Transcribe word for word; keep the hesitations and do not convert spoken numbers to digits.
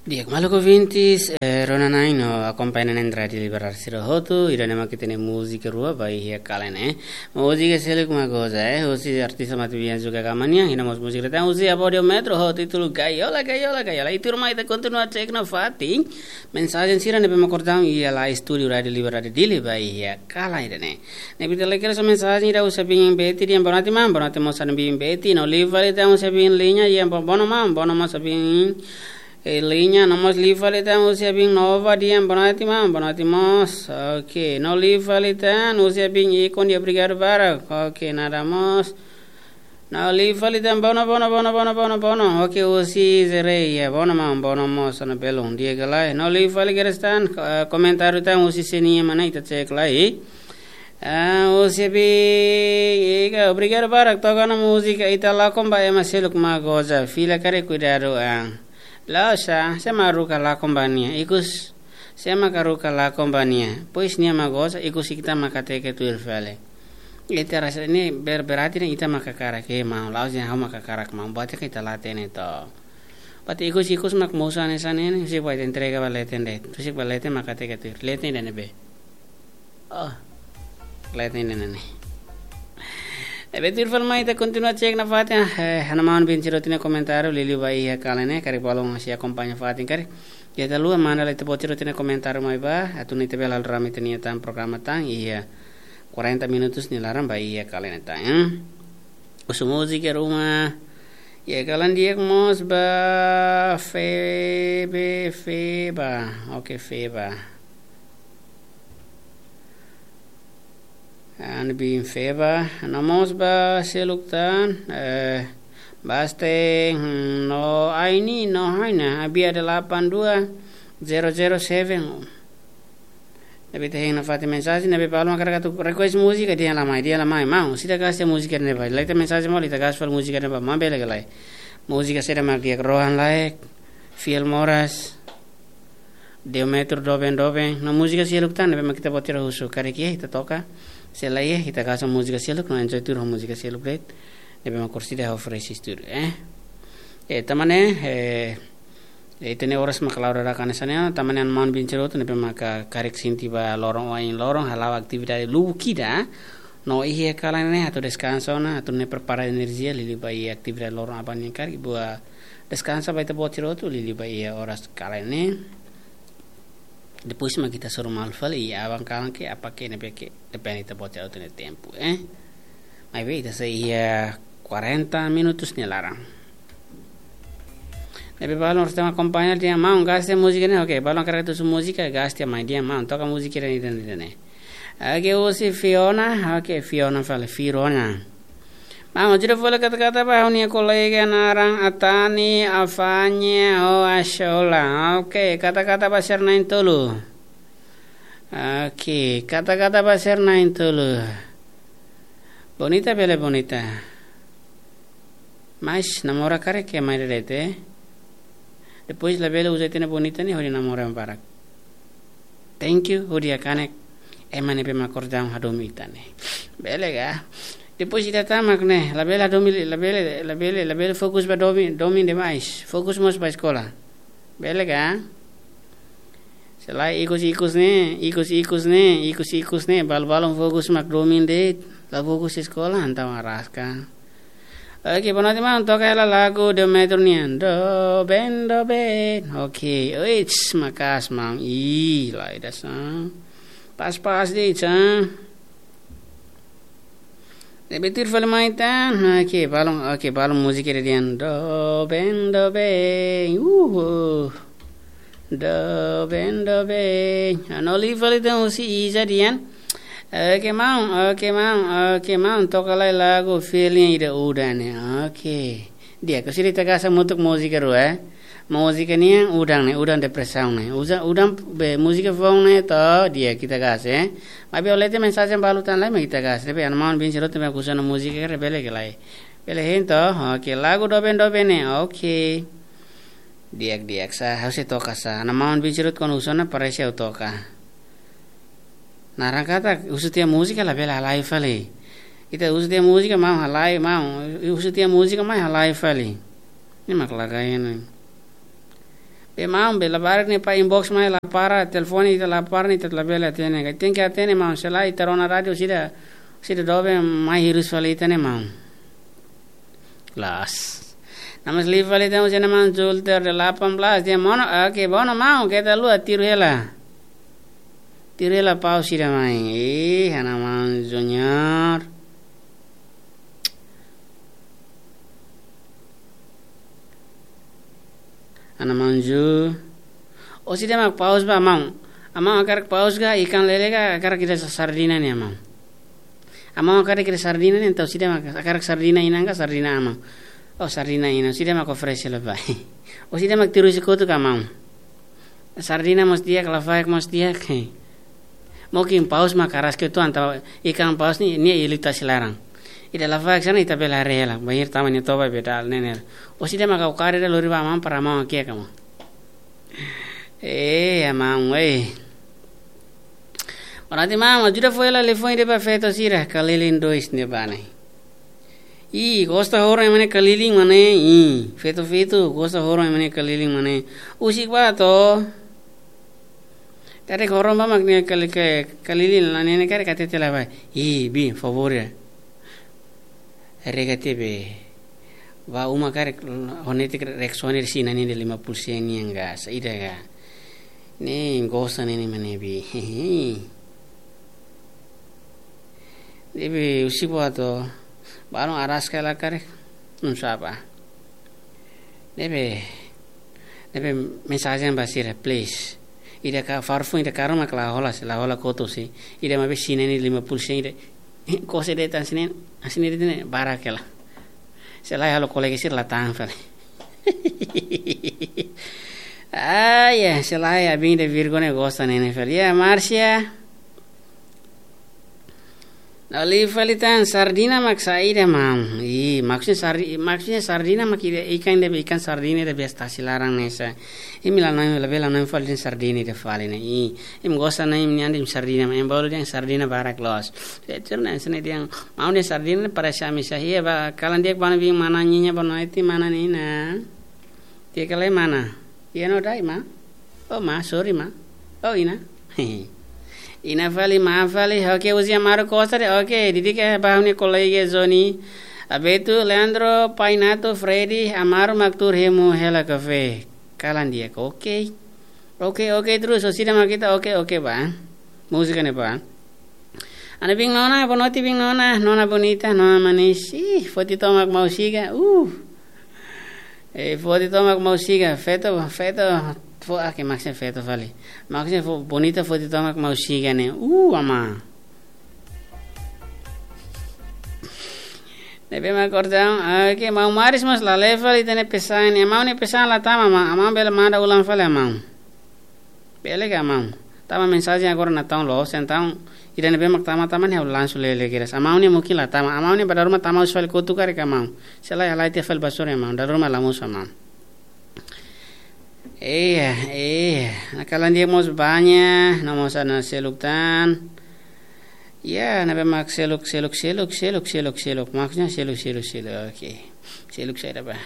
Di'ak, maluk ouvintes, eh, rona-na'in no akompaña na'in Rádiu Liberdade sira hotu, ida-ne'e mak ita-nia múzika rua ba iha kalan ne'e. Múzika seluk mak goza, eh, husi artista Mati Bian Zuka Kamania, iha mós múzika tan husi Abódio Metro ho títulu Gaiola, Gaiola, Gaiola. I tuirmai ita kontinua cek nafatin mensajen sira ne'ebé mak kordang iha la estúdiu Rádiu Liberdade Dili ba iha kalan ida-ne'e. Ne'ebé ita lee kedas mensajen ida husi Abin Beti, dehan boa noite maun, boa noite mós Abin Beti, no liu fali tan husi Abin Liña, dehan bo-, boa noite maun, boa noite mós Abin, eh, Liña, no mós liu fali tan husi Abin Nova, dehan boa noite maun, boa noite mós, oke, no liu fali tan husi Abin Ikon, dehan obrigadu barak, oke, nada mós, no liu fali tan bono, bono, bono, bono, bono, bono. Oke, husi Zerei, ya, bono maun, bono mós, sana belum, di'ak ka lae. No liu fali kedas tan, eh, komentáriu tan husi Senia mana ita cek lai. Ah, husi Abin, ika, obrigadu barak toka ona múzika ita lakon ba ema seluk mak goza. Fila karik kuidadu an. La'ós, sé mak haruka lakon ba nia. Ikus, sé mak haruka lakon ba nia. Pois nia mak goza, ikus ita mak hateke tuir fali. Ita rasa ne'e ber-, berarti ne'e ita mak hakarak, eh, maun, la'ós dehan ha'u mak hakarak maun, buat ka ita la hatene to. Buat ikus-ikus mak mosu hanesan ne'e, husik ba ita entrega ba leten de'it. Husik ba leten mak hateke tuir. Leten ida-ne'ebé? Oh. Leten ida-ne'e. Ne'ebé tuir fali mai ita kontinua cek nafatin, eh, ha'u-nia maun Bin Sirot nia komentáriu, liuliu ba iha kalan ne'e, karik balun sei akompaña fatin karik. Ita haluha manda lai ita-boot sira-nia komentáriu mai bá, atu nune'e ita bele halo rame ita-nia tan programa tan, iha quarenta minutos nia laran ba iha kalan ne'e tan, eh. Husu múzika ruma, iha kalan di'ak mós ba Febe, Feba, oke, Feba. An bin Feba, no mós ba seluk tan, eh, Baste, hmm, no Aini, no Haina, abia delapan dua zero zero seven. Ne'ebé ita hein nafatin mensajen, ne'ebé balun hakarak atu request múzika, dehan la mai, dehan la mai, maun, sira gasta múzika ne'ebá. Lai ita mensajen mós, ita gasta fali múzika ne'ebá, maun, bele ka lae. Múzika sira mak di'ak, Rohan Laek, Fiel Moras, Diometro, Doben Doben, no múzika seluk tan ne'ebé mak ita-boot sira husu, karik iha ita toka, se la iha ita gasta múzika seluk, no enjoy tuir ho múzika seluk de'it, ne'ebé mak orsida ho Fresh Studio, eh. Eh, tanba ne'e, eh, ita-nia oras mak la'o dadakan hanesan ne'e, tanba ne'e maun Bin Sirot ne'ebé mak karik sente ba loron oin loron, hala'o atividade lubuk ida, no iha kalan ne'e atu deskansa ona, atu nune'e prepara enerjia, liuliu ba iha atividade loron aban nian karik, buat deskansa ba ita-boot sira hotu, liuliu ba iha oras kalan ne'e. Depois mak ita hasoru malu fali iha aban kalan ke apa ke ne'ebé ke, depende ita-boot sira hotu nia tempu, eh. Maibé ita sei iha quarenta minutos nia laran. Ne'ebé balun orsida mak akompaña dehan maun gasta múzika ne'e, oke, balun hakarak atu husu múzika, gasta mai dehan maun, toka múzika ida-ne'e, ida-ne'e, ida-ne'e. Oke, husi Fiona, oke, Fiona fali, Fiona. Maun, ajuda fali kata-kata ba ha'u-nia kolega naran Atani, Afanye, ho Ashola. Oke, kata-kata ba sira na'in-tolu. Oke, kata-kata ba sira na'in-tolu. Bonita bele bonita. Mas namora karik ke mai de'it, eh. Depois labele uza ita-nia bonita ne'e hodi namora ema barak. Thank you, hodi hakanek ema ne'ebé mak kordang hadomi ita ne'e. Bele ka? Depois ita tama mak ne'e, labele hadomi, labele, labele, labele fokus ba domin, domin demais. Fokus mós ba eskola. Bele ka? Se lae ikus-ikus ne'e, ikus-ikus ne'e, ikus-ikus ne'e, balu-balun fokus mak domin de'it, la fokus eskola, entaun araska. Oke, boa noite maun, toka hela lagu Diometro nian. Doben, doben. Oke, oits, maka'as maun. Ih, lai dasar. Pas-pas de'it, sa. Ne'ebé tuir fali mai tan. Oke, balun, oke, balun múzika ida dehan. Doben, doben. Uhu. Doben, doben. Ah, no liu fali tan husi Iza dehan. Oke, maun, oke, maun, oke, maun. Toka lai lagu feeling ida udan ne'e. Oke. Di'ak, orsida ita gasta hamutuk múzika rua, eh. Múzika nian udan ne'e, udan depresaun ne'e. Uza, udan be múzika foun ne'e to, di'ak ita gasta, eh. Maibé ha'u lee tiha mensajen balu tan lai mak ita gasta. Tapi ha'u-nia maun Bin Sirot mak husu ona múzika karik bele ka lae. Bele hein to, oke, lagu Doben Doben ne'e, oke. Di'ak, di'ak, sa, ha'u sei toka sa. Ha'u-nia maun Bin Sirot kuandu husu ona parese ha'u toka. Naran katak, husu tiha múzika labele halai fali. Ita husu tiha múzika maun halai, maun. Husu tiha múzika mai halai fali. Ne'e mak lagai ne'e. Emaun, bele labarik ne'e para inbox mai, la para, telefone ita la para ne'e ita labele hatene. Karik tenke hatene maun, se lae ita rona rádiu sira, sira doben mai hirus fali ita ne'e maun. Las. Nama liu fali ita, husi Ana Maun Julter de delapan belas, dehan: "Mono, oke, bá ona maun, keta haluha, tiru hela. Tiru hela paus sira mai." Ih, Ana Maun Junior. Ana Maun Ju. Ó sira mak paus ba, maun. Amaun hakarak paus ka, ikan lele ka, hakarak ida sardina ne'e, maun? Amaun hakarak ida sardina ne'e, entaun ó sira mak hakarak sardina inan ka sardina aman? Oh, sardina inan, ó sira mak oferese hela ba. Ó sira mak tiru husi kotuk ka, maun? Sardina mós di'ak, lafaek mós di'ak. Mungkin paus mak karas ke tuan, tau ikan paus ne'e, ne'e iha liután tasi laran. Ida lafaek sira ne'e ita bele haree hela, bainhira tama nia toba be dala nenen. Ó sira mak hakarak ida lori ba maun para maun hakiak ka, maun? Eh, ya maun, eh. Berarti maun, ajuda fó hela liafuan ida ba feto sira, Kalilin dois ne'ebá ne'e. Ih, gosta horon ema nia Kalilin mak ne'e. Ih, feto-feto, gosta horon ema nia Kalilin mak ne'e. Husik ba to. Karik horon ba mak nia kali ke, Kalilin la nene karik hatete la ba. Ih, biin, favór ya. Rega tiha be. Ba uma karik, honete karik reaksiona iha sira-nia lima puluh sen nian ka, saida ka. Ne'e gosta ne'e mak ne'e, biin. Ne'ebé husik ba to, balun araska hela karik, não sabe. Ne'ebé, ne'ebé mensajen ba sira, please. Ida ka farfun, ida karma ke la hola, se la hola kotu se. Ida maibé sira-nia lima puluh sen ida. Kose de'it hanesan ne'e, hanesan ne'e de'it ne'e, barak hela. Se lae halo kolega sira la tahan fali. Ah, ya, se lae, abin de Virgo ne'e gosta ne'e ne'e fali. Ya, Marcia. Ha'u liu fali tan, sardina mak saida, maun? Ih, maksudnya sardi-, maksudnya sardina mak ida ikan ida be, ikan sardina ida be tasi laran ne'e sa. Imi la hanoin, labele hanoin fali dehan sardina ida fali ne'e. Ih, imi gosta hanoin imi-nia an dehan sardina, mak imi bolu dehan sardina barak loos. Feto sira ne'e hanesan ne'e dehan, maun dehan sardina parese ami sa. Iha ba, kalan di'ak ba, biin, mana Nyinya, boa noite, mana Nina. Di'ak ka lae, mana? Iha no dai, ma? Oh, ma, sorry, ma. Oh, Ina. Ina fali, ma fali. Oke, husi Amaro Costa de'it. Oke, di'ak ka ba ha'u-nia kolega Zoni. Abeto, Leandro, Painato, Freddy, Amaro mak tuur hemu hela kafé. Kalan di'ak. Oke. Oke, oke, terus, ó sira mak ita, oke, oke, ba. Múzika ne'e ba. Ana biin nona, boa noite biin nona, nona bonita, nona manis. Ih, foti tomak maun siga. Uh. Eh, foti tomak maun siga, feto, feto, fo, ah, ke maksudnya feto fali. Maksudnya fo, bonita foti tomak maun siga ne'e. Uh, ama. Ne'ebé mak kordaun, ah, ke maun Maris mós la lee fali ita-nia pesan ne'e. Maun nia pesan la tama, ma, maun bele manda ulang fali, maun. Bele ka, maun? Tama mensajen agora natoon loos, entaun ida ne'ebé mak tama, tama ne'e ha'u lansu lele kedas. Amaun ne'e mungkin la tama, amaun ne'e ba dala ruma tama husi fali kotuk karik, maun. Se lae halai tiha fali ba sore, maun. Dala ruma la mosu, maun. Iya, iya. Ne'e kalan di'ak mós banya, no mós ana seluk tan. Ya, ne'ebé mak seluk, seluk, seluk, seluk, seluk, seluk. Maksudnya seluk, seluk, seluk. Oke. Seluk saida ba.